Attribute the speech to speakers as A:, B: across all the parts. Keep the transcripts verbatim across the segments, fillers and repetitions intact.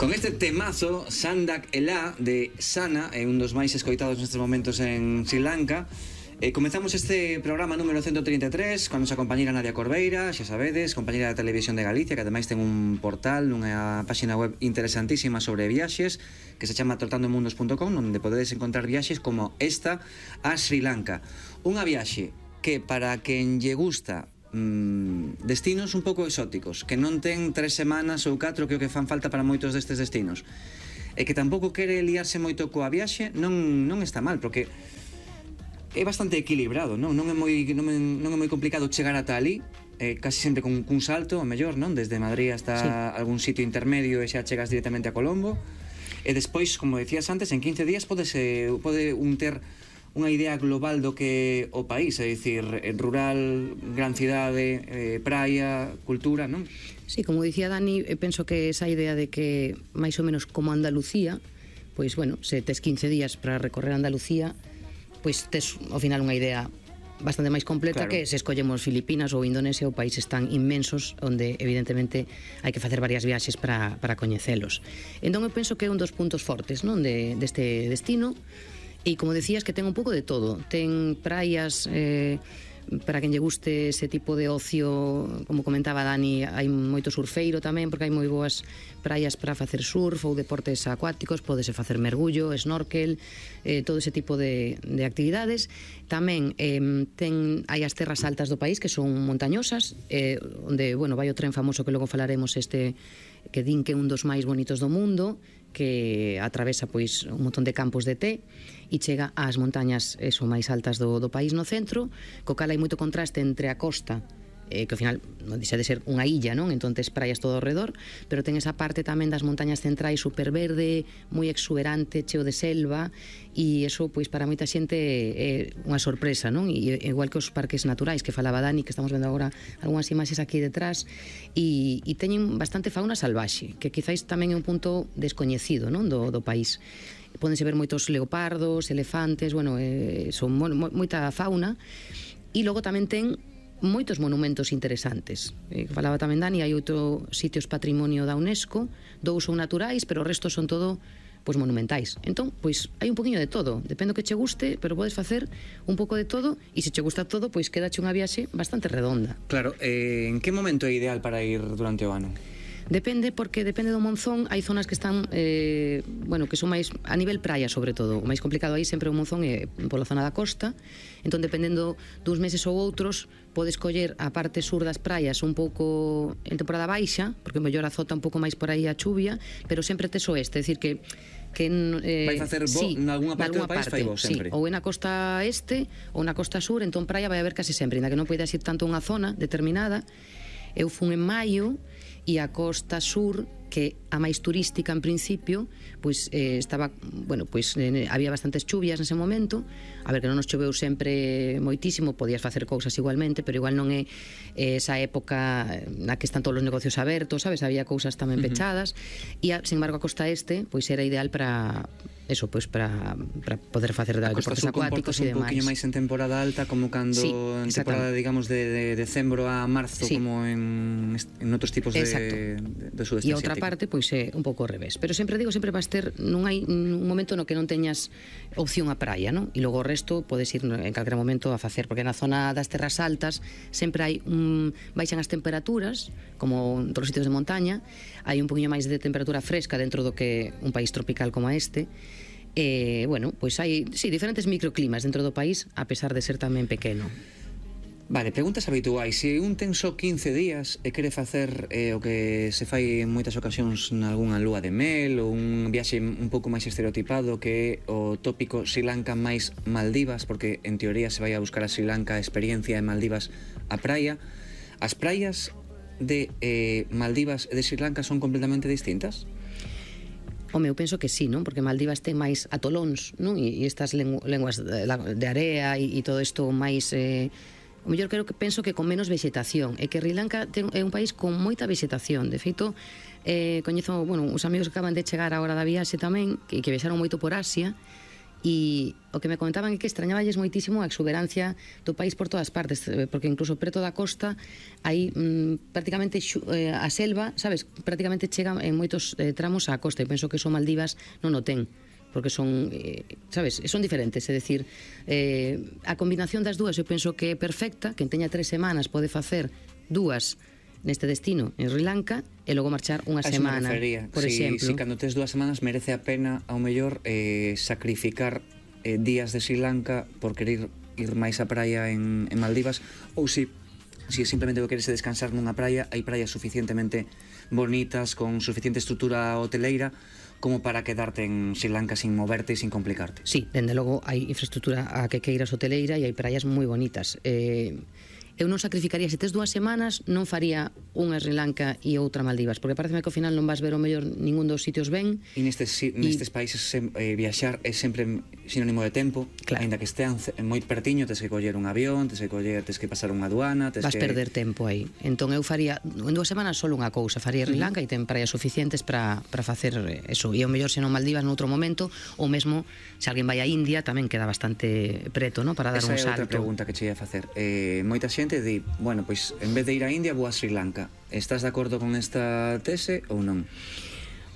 A: Con este temazo, Sandak Ela, de Sana, é un dos máis escoitados nestes momentos en Sri Lanka. Eh, comezamos este programa número ciento trinta e tres con a nosa compañera Nadia Corbeira, xa sabedes, compañera da Televisión de Galicia, que ademais ten un portal, unha páxina web interesantísima sobre viaxes, que se chama trotandomundos punto com, onde podedes encontrar viaxes como esta a Sri Lanka. Unha viaxe que para quen lle gusta mm, destinos un pouco exóticos, que non ten tres semanas ou catro que o que fan falta para moitos destes destinos, e que tampouco quere liarse moito coa viaxe, non, non está mal, porque é bastante equilibrado, non? Non é moi, non é, non é moi complicado chegar ata ali, eh, casi sempre con cun salto, o mellor, non? Desde Madrid hasta sí. algún sitio intermedio e xa chegas directamente a Colombo. E despois, como decías antes, en quince días podese, pode un ter unha idea global do que o país, é dicir, rural, gran cidade, eh, praia, cultura, non?
B: Sí, como dicía Dani, penso que esa idea de que máis ou menos como Andalucía, pois, bueno, se tes quince días para recorrer Andalucía, pois tes ao final unha idea bastante máis completa, claro, que se escollemos Filipinas ou Indonesia, ou países tan inmensos onde evidentemente hai que facer varias viaxes para, para coñecelos. Entón eu penso que é un dos puntos fortes, non, de, deste destino, e como decías que ten un pouco de todo, ten praias eh, para quen lle guste ese tipo de ocio, como comentaba Dani, hai moito surfeiro tamén, porque hai moi boas praias para facer surf ou deportes acuáticos, podese facer mergullo, snorkel, eh, todo ese tipo de, de actividades. Tamén eh, ten, hai as terras altas do país que son montañosas, eh, onde, bueno, vai o tren famoso que logo falaremos, este que din que é un dos máis bonitos do mundo, que atravesa pois un montón de campos de té e chega ás montañas eso, máis altas do, do país no centro, co cal hai moito contraste entre a costa, eh, que ao final non deixa de ser unha illa, non? Entón tes praias todo ao redor, pero ten esa parte tamén das montañas centrais super verde, moi exuberante, cheo de selva, e eso pois para moita xente é unha sorpresa, non? E igual que os parques naturais que falaba Dani, que estamos vendo agora algunhas imaxes aquí detrás, e, e teñen bastante fauna salvaxe, que quizáis tamén é un punto descoñecido, non? Do, do país. Pódense ver moitos leopardos, elefantes, bueno, eh, son mo, mo, moita fauna, e logo tamén ten moitos monumentos interesantes. Eh, falaba tamén Dani, hai outro sitios patrimonio da UNESCO, dous son naturais, pero o resto son todo pois monumentais. Entón, pois hai un poquinho de todo, depende do que che guste, pero podes facer un pouco de todo, e se che gusta todo, pois quédache unha viaxe bastante redonda.
A: Claro, eh, en que momento é ideal para ir durante o ano?
B: Depende, porque depende do monzón, hai zonas que están eh, bueno, que son máis a nivel praia, sobre todo. O máis complicado aí sempre o monzón é pola zona da costa. Entón, dependendo duns meses ou outros, podes coller a parte sur das praias un pouco en temporada baixa, porque mellor azota un pouco máis por aí a chuvia, pero sempre tes oeste, é dicir que que eh,
A: vai facer bo
B: sí,
A: nalgúna parte do país,
B: parte,
A: fai bo sempre.
B: Sí, ou é na costa este ou na costa sur, entón praia vai haber case sempre, ainda que non poidas ir tanto a unha zona determinada. Eu fun en maio e a costa sur, que a máis turística en principio, pois eh, estaba, bueno, pois eh, había bastantes chuvias nese momento, a ver que non nos choveu sempre moitísimo, podías facer cousas igualmente, pero igual non é eh, esa época na que están todos os negocios abertos, sabes, había cousas tamén pechadas, uh-huh. e a, sin embargo a costa este, pois era ideal para eso, pois para, para poder facer deportes acuáticos e demais.
A: Un poquinho máis en temporada alta, como cando sí, en temporada, digamos, de, de decembro a marzo, sí, como en, en outros tipos de, de, de sudeste asiático. E outra parte, pois é un pouco ao revés. Pero sempre digo, sempre vas ter, non hai un momento no que non teñas opción a praia, non? E logo o resto podes ir en calquera momento a facer, porque na zona das terras altas sempre hai un, baixan as temperaturas, como en todos os sitios de montaña, hai un poquinho máis de temperatura fresca dentro do que un país tropical como este. E, bueno, pois hai, sí, diferentes microclimas dentro do país, a pesar de ser tamén pequeno. Vale, preguntas habituais. Se un ten só quince días e quere facer eh, o que se fai en moitas ocasións nalgúna lúa de mel ou un viaxe un pouco máis estereotipado, que é o tópico Sri Lanka máis Maldivas, porque en teoría se vai a buscar a Sri Lanka a experiencia en Maldivas a praia, as praias de eh, Maldivas e de Sri Lanka son completamente distintas?
B: Home, eu penso que sí, non? Porque Maldivas ten máis atolóns, non? E, e estas lengu lenguas de, de area e, e todo isto máis... Eh, o mellor creo que penso que con menos vegetación, e que Sri Lanka ten, é un país con moita vegetación. De feito, eh, coñezo, bueno, os amigos que acaban de chegar a hora da viaxe tamén, que, que viaxaron moito por Asia, e o que me comentaban é que extrañaballes moitísimo a exuberancia do país por todas partes, porque incluso preto da costa hai mm, prácticamente xu, eh, a selva, sabes, prácticamente chega en moitos eh, tramos á costa, e penso que eso Maldivas non o ten, porque son, eh, sabes, son diferentes, é dicir, eh, a combinación das dúas eu penso que é perfecta, que teña tres semanas pode facer dúas neste destino en Sri Lanka e logo marchar unha semana, por
A: si,
B: exemplo.
A: Si cando tes dúas semanas merece a pena ao mellor eh, sacrificar eh, días de Sri Lanka por querer ir máis á praia en, en Maldivas, ou si si simplemente o queres descansar nunha praia, hai praias suficientemente bonitas con suficiente estrutura hoteleira como para quedarte en Sri Lanka sin moverte e sin complicarte.
B: Sí, dende logo hai infraestructura a que queiras hoteleira e hai praias moi bonitas. Eh, eu non sacrificaría, se tes dúas semanas non faría unha Sri Lanka e outra Maldivas, porque pareceme que ao final non vas ver o mellor ningún dos sitios ben.
A: E nestes, si, nestes países sem, eh, viaxar é sempre sinónimo de tempo,
B: claro.
A: Ainda que estean moi pertiño, tes que coller un avión, tes que coller, tes que pasar unha aduana, tes
B: vas
A: que...
B: perder tempo aí. Entón eu faría en dúas semanas só unha cousa, faría Sri Lanka uh -huh. e ten praias suficientes para para facer eso. E ao mellor se non Maldivas noutro momento, ou mesmo se alguén vai a India tamén queda bastante preto, ¿no? Para dar
A: esa
B: un salto.
A: Esa é outra pregunta que che ia facer. Eh, moita xente di, bueno, pois en vez de ir a India vou a Sri Lanka. Estás de acordo con esta tese ou non?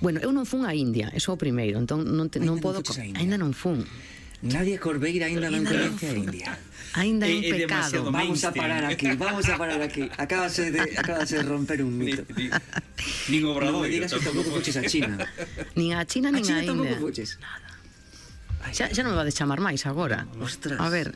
B: Bueno, eu non fun a India, eso é o primeiro, entón non, te, non podo... Ainda non fun.
A: Nadia Corveira ainda non coñece a India.
B: Ainda é un pecado.
A: Vamos a parar aquí, vamos a parar aquí. Acabase de, acabase de romper un mito.
C: Nin Obrador.
A: Non me digas que tampouco fuches a China.
B: Nin a China, nin a India.
A: A China tampouco fuches.
B: Nada. Xa, xa non me vades chamar máis agora.
A: Ostras.
B: A ver,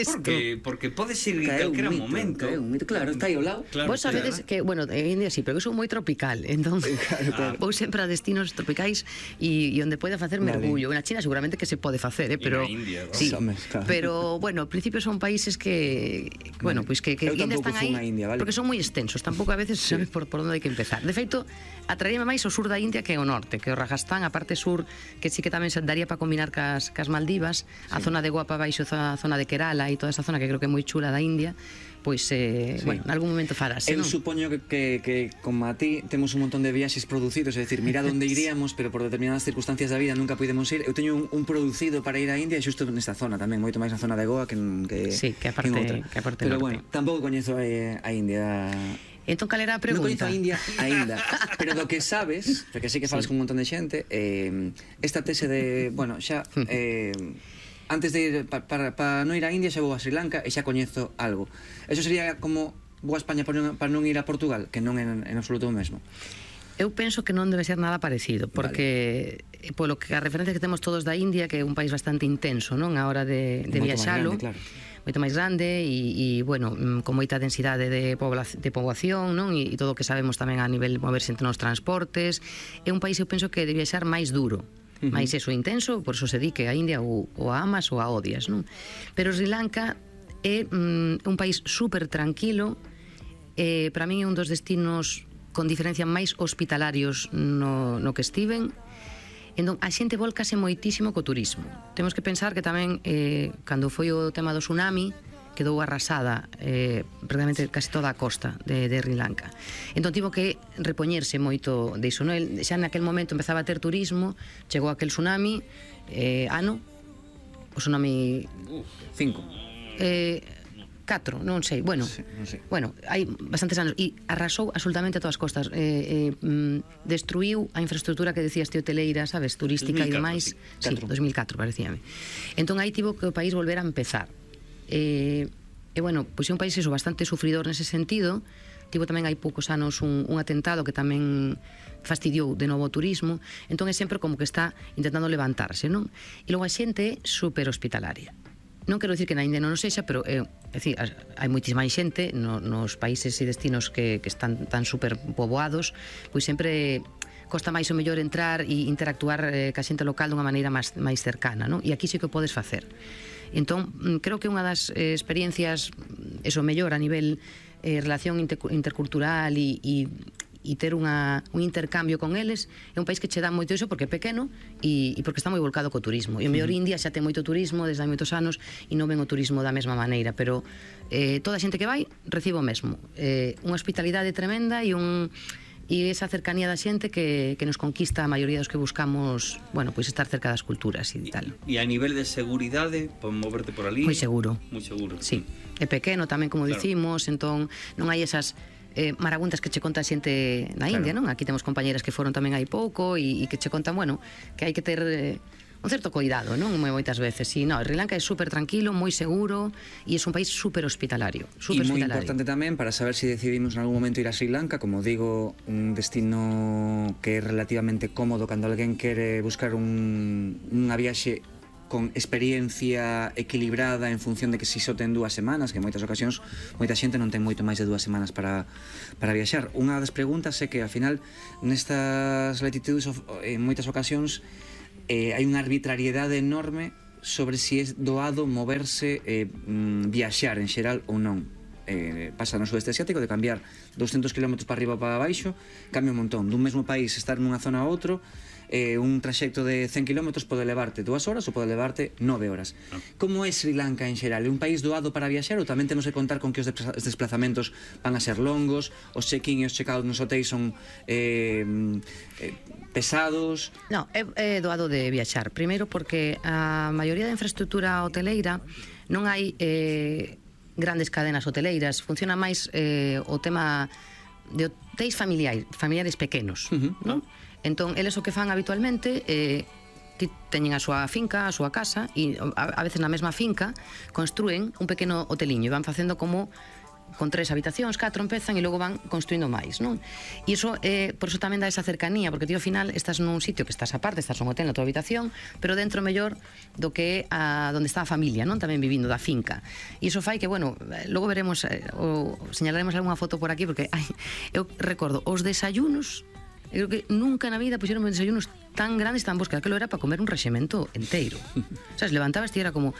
C: porque, porque podes ir en calquera momento.
A: Un mito, claro, está aí ao lado.
B: Claro, vos sabedes claro. que, bueno, en India sí, pero que son moi tropical, entón claro, claro. Vou sempre a destinos tropicais e, e onde poida facer vale. mergullo. Na China seguramente que se pode facer, eh, pero
C: India, ¿no?
B: sí,
A: Somos, claro.
B: pero bueno, ao principio son países que, bueno, pois pues que, que India están aí,
A: India, vale?
B: Porque son moi extensos, tampouco a veces sí. sabes por, por onde hai que empezar. De feito, atraíame máis o sur da India que o norte, que o Rajastán, a parte sur, que sí que tamén se daría para combinar cas, cas Maldivas, a sí. zona de Guapa baixo, a zona de Kerala e toda esa zona que creo que é moi chula da India, pois, eh, sí. bueno, en algún momento farase,
A: Eu
B: non?
A: supoño que, que, que como a ti temos un montón de viaxes producidos, é dicir, mira onde iríamos, pero por determinadas circunstancias da vida nunca podemos ir. Eu teño un, un producido para ir a India xusto nesta zona tamén, moito máis na zona de Goa que, que,
B: sí, que aparte,
A: que outra.
B: Que aparte
A: pero
B: norte.
A: bueno, tampouco coñezo a, a India.
B: Entón, cal era a pregunta?
A: Non coñezo a India aínda, pero do que sabes, porque sí que falas sí. con un montón de xente, eh, esta tese de, bueno, xa... Eh, antes de ir para pa, pa non ir a India xa vou a Sri Lanka e xa coñezo algo. Eso sería como vou a España para non, para non ir a Portugal, que non é en, en absoluto o mesmo.
B: Eu penso que non debe ser nada parecido, porque vale. polo que a referencia que temos todos da India, que é un país bastante intenso, non, a hora de, de viaxalo,
A: claro.
B: moito máis grande e, e bueno, con moita densidade de, pobla, de poboación, non, e, e todo o que sabemos tamén a nivel de moverse entre os transportes. É un país, eu penso, que de viaxar máis duro. Uh -huh. Mais eso intenso, por eso se di que a India ou, ou a amas ou a odias, non? Pero Sri Lanka é mm, un país super tranquilo, eh, para min é un dos destinos con diferencia máis hospitalarios no, no que estiven. Entón, a xente volcase moitísimo co turismo. Temos que pensar que tamén, eh, cando foi o tema do tsunami, quedou arrasada eh, prácticamente casi toda a costa de, de Sri Lanka. Entón tivo que repoñerse moito diso, no? El, xa naquel momento empezaba a ter turismo, chegou aquel tsunami, eh, ano, o tsunami...
A: Cinco.
B: Eh, catro, non sei, bueno,
A: sí, non sei.
B: Bueno, hai bastantes anos e arrasou absolutamente todas as costas, eh, eh, destruiu a infraestructura que decías te hoteleira, sabes, turística e demais. Sí, dos mil catro parecíame. Entón aí tivo que o país volver a empezar. E, e bueno, pois é un país eso, bastante sufridor nese sentido. Tivo tamén hai poucos anos un, un atentado que tamén fastidiou de novo o turismo. Entón é sempre como que está intentando levantarse, non? E logo a xente é super hospitalaria. Non quero dicir que na India non o sexa, pero é, é dicir, hai moitísima xente no, nos países e destinos que, que están tan super poboados, pois sempre costa máis o mellor entrar e interactuar eh, ca xente local dunha maneira máis, máis cercana, non? E aquí sí que o podes facer. Entón, creo que unha das eh, experiencias, eso mellor a nivel eh, relación inter intercultural e, e, e ter unha, un intercambio con eles, é un país que che dá moito iso porque é pequeno e, e porque está moi volcado co turismo. E o mellor India xa ten moito turismo desde hai moitos anos e non ven o turismo da mesma maneira, pero eh, toda a xente que vai recibe o mesmo. Eh, unha hospitalidade tremenda e un... e esa cercanía da xente que, que nos conquista a maioría dos que buscamos, bueno, pois estar cerca das culturas e tal.
C: E a nivel de seguridade, para moverte por ali?
B: Moi seguro.
C: Moi seguro.
B: Sí, é pequeno tamén, como
C: Claro.
B: dicimos, entón non hai esas eh, marabuntas que che conta xente na India,
C: Claro.
B: non? Aquí temos compañeras que foron tamén hai pouco e, e que che contan, bueno, que hai que ter eh, un certo cuidado, non? Moitas veces. E no, Sri Lanka é super tranquilo, moi seguro e é un país super hospitalario, super
A: E moi
B: hospitalario.
A: importante tamén para saber se si decidimos en algún momento ir a Sri Lanka, como digo, un destino que é relativamente cómodo cando alguén quere buscar un, unha viaxe con experiencia equilibrada en función de que si só ten dúas semanas, que en moitas ocasións moita xente non ten moito máis de dúas semanas para, para viaxar. Unha das preguntas é que, ao final, nestas latitudes, en moitas ocasións, eh, hai unha arbitrariedade enorme sobre si é doado moverse, eh, viaxar en xeral ou non. Eh, pasa no sudeste asiático de cambiar doscientos kilómetros para arriba ou para baixo, cambia un montón. Dun mesmo país estar nunha zona a outro, eh, un traxecto de cen kilómetros pode levarte dúas horas ou pode levarte nove horas. Ah. Como é Sri Lanka en xeral? É un país doado para viaxar ou tamén temos que contar con que os desplazamentos van a ser longos, os check-in e os check-out nos hotéis son eh, eh, pesados?
B: No, é, é doado de viaxar. Primeiro porque a maioría da infraestructura hoteleira non hai eh, grandes cadenas hoteleiras, funciona máis eh, o tema de hotéis familiares, familiares pequenos,
A: Uh-huh.
B: non? Entón, eles o que fan habitualmente eh, ti teñen a súa finca, a súa casa e a, a veces na mesma finca construen un pequeno hoteliño e van facendo como con tres habitacións, catro empezan e logo van construindo máis, non? E iso, eh, por iso tamén dá esa cercanía, porque ti ao final estás nun sitio que estás aparte, estás nun hotel na tua habitación, pero dentro mellor do que é a, donde está a familia, non? Tamén vivindo da finca. E iso fai que, bueno, logo veremos, eh, o señalaremos algunha foto por aquí, porque ai, eu recordo os desayunos. Eu creo que nunca na vida puxeron desayunos tan grandes, tan bons, que aquilo era para comer un rexemento inteiro. Sabes, levantabas e era como,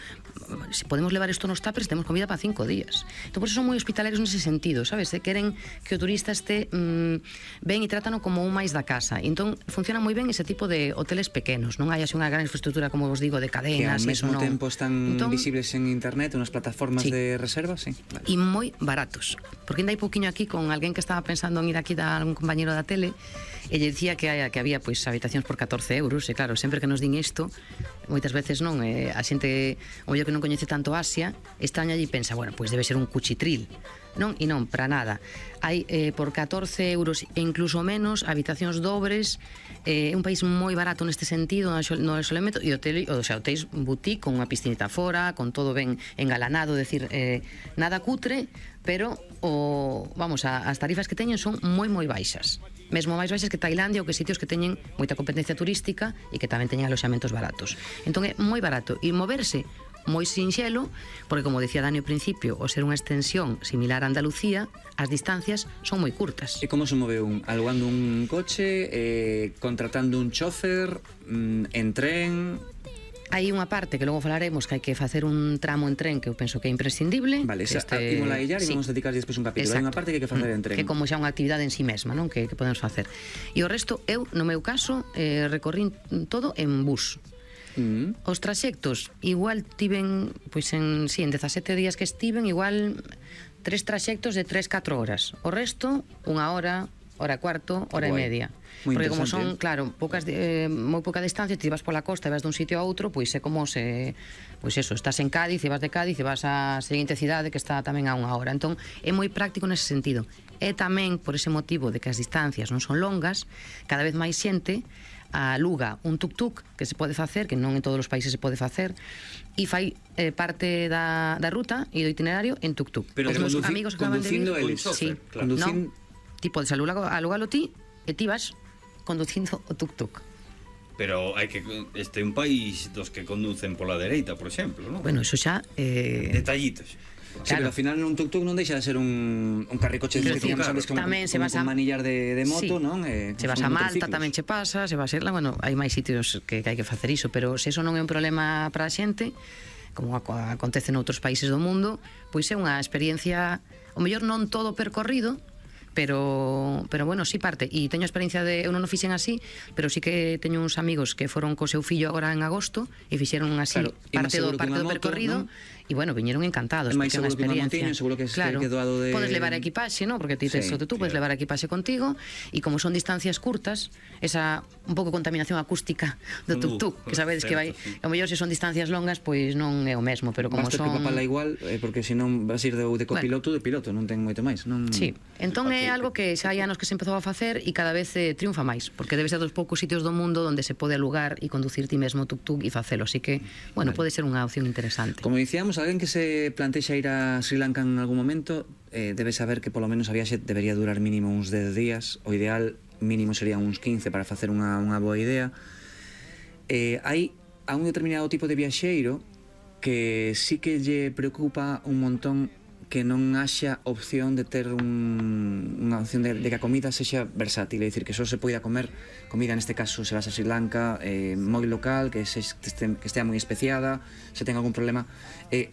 B: se podemos levar isto nos tuppers, temos comida para cinco días. Entón, por eso son moi hospitalarios nese sentido, sabes? De queren que o turista este mmm, ben e trátano como un máis da casa. E entón, funciona moi ben ese tipo de hoteles pequenos. Non hai así unha gran infraestructura, como vos digo, de cadenas.
A: Que ao mesmo
B: non.
A: tempo están
B: entón,
A: visibles en internet, unas plataformas
B: sí.
A: de reserva, sí. Vale.
B: E moi baratos. Porque ainda hai pouquiño aquí con alguén que estaba pensando en ir aquí da algún compañero da tele e lle dicía que, hai, que había pois habitacións por catorce euros e claro, sempre que nos din isto moitas veces non, eh, a xente o mellor que non coñece tanto Asia extraña e pensa, bueno, pois debe ser un cuchitril non, e non, para nada hai eh, por catorce euros e incluso menos habitacións dobres, é eh, un país moi barato neste sentido, no isolamento e hotel, o sea, hotéis boutique con unha piscinita fora, con todo ben engalanado, decir, eh, nada cutre, pero o, vamos, a, as tarifas que teñen son moi moi baixas, mesmo máis baixas que Tailandia ou que sitios que teñen moita competencia turística e que tamén teñen aloxamentos baratos. Entón é moi barato e moverse moi sinxelo, porque como decía Dani ao principio, o ser unha extensión similar a Andalucía, as distancias son moi curtas.
A: E como se move un? Alugando un coche, eh, contratando un chofer, mm, en tren?
B: Hai unha parte que logo falaremos que hai que facer un tramo en tren que eu penso que é imprescindible.
A: Vale,
B: que
A: esa, este... imos a illar e
B: sí.
A: vamos a dedicar despois un capítulo.
B: Exacto.
A: Hai unha parte que hai que facer en tren.
B: Que como xa unha actividade en si sí mesma, non? Que, que podemos facer. E o resto, eu, no meu caso, eh, recorrín todo en bus.
A: Mm.
B: Os traxectos, igual tiven, pois en, sí, en dezasete días que estiven, igual tres traxectos de tres catro horas. O resto, unha hora, hora e cuarto, hora
A: Guai.
B: e media.
A: Moi
B: Porque como
A: interesante.
B: son, claro, poucas eh, moi pouca distancia, ti vas pola costa e vas dun sitio a outro, pois é como se, pois eso, estás en Cádiz e vas de Cádiz e vas á seguinte cidade que está tamén a unha hora. Entón, é moi práctico nese sentido. E tamén por ese motivo de que as distancias non son longas, cada vez máis xente aluga un tuk-tuk que se pode facer, que non en todos os países se pode facer, e fai eh, parte da, da ruta e do itinerario en tuk-tuk.
C: Pero
B: os meus
C: conduci-
B: amigos que acaban de vir,
A: conducindo eles.
B: sí,
C: Claro.
A: Conducin-
B: no, ti podes alugalo, alugalo ti e ti vas conducindo o tuk-tuk.
C: Pero hai que este é un país dos que conducen pola dereita, por exemplo, non?
B: Bueno, eso xa eh,
C: Detallitos.
A: Sí,
B: Claro.
A: pero ao final un tuk-tuk non deixa de ser un, un carricoche
B: Pero
A: que tiñamos
C: claro,
A: antes como,
B: tamén se
A: como
B: vas
A: con
B: a-
A: manillar de, de moto,
B: Sí.
A: non? Eh,
B: Se vas
A: son
B: a Malta
A: motorciclos.
B: tamén che pasa, se vas a Irlanda, bueno, hai máis sitios que, que hai que facer iso, pero se eso non é un problema para a xente, como aco- acontece noutros países do mundo, pois é unha experiencia, o mellor non todo percorrido, pero pero bueno, sí parte. E teño a experiencia de, eu non o fixen así, pero sí que teño uns amigos que foron co seu fillo agora en agosto e fixeron así
A: Claro, e máis
B: parte do
A: seguro que
B: parte
A: unha
B: do
A: moto,
B: percorrido,
A: non?
B: e bueno, viñeron encantados,
A: É máis
B: porque é unha
A: seguro que unha
B: experiencia.
A: motiño, seguro que se
B: Claro,
A: que doado de-
B: podes levar equipaxe, ¿no? Porque ti tes
A: Sí,
B: o de tú, podes
C: claro.
B: levar equipaxe contigo, e como son distancias curtas, esa un pouco contaminación acústica do
C: Uh,
B: tuk-tuk, que sabedes que vai,
C: certo, sí.
B: a mellor se son distancias longas, pois non é o mesmo, pero como
A: Basta
B: son
A: preocupala igual, eh, porque senón vas ir de, de copiloto, de piloto, non ten moito máis, non?
B: Sí, entón é
C: Ok.
B: algo que xa hai anos que se empezou a facer e cada vez eh, triunfa máis, porque debe ser dos poucos sitios do mundo onde se pode alugar e conducir ti mesmo tuk-tuk e facelo, así que, bueno, pode ser unha opción interesante.
A: Como dicíamos, alguén que se plantexa ir a Sri Lanka en algún momento eh, debe saber que polo menos a viaxe debería durar mínimo uns dez días, o ideal mínimo sería uns quince para facer unha, unha boa idea. Eh, hai a un determinado tipo de viaxeiro que sí que lle preocupa un montón que non haxa opción de ter un, unha opción de, de que a comida sexa versátil, é dicir, que só se poida comer comida, neste caso se vas a Sri Lanka, eh, moi local, que, se, que, este, que estea moi especiada, se ten algún problema. Eh,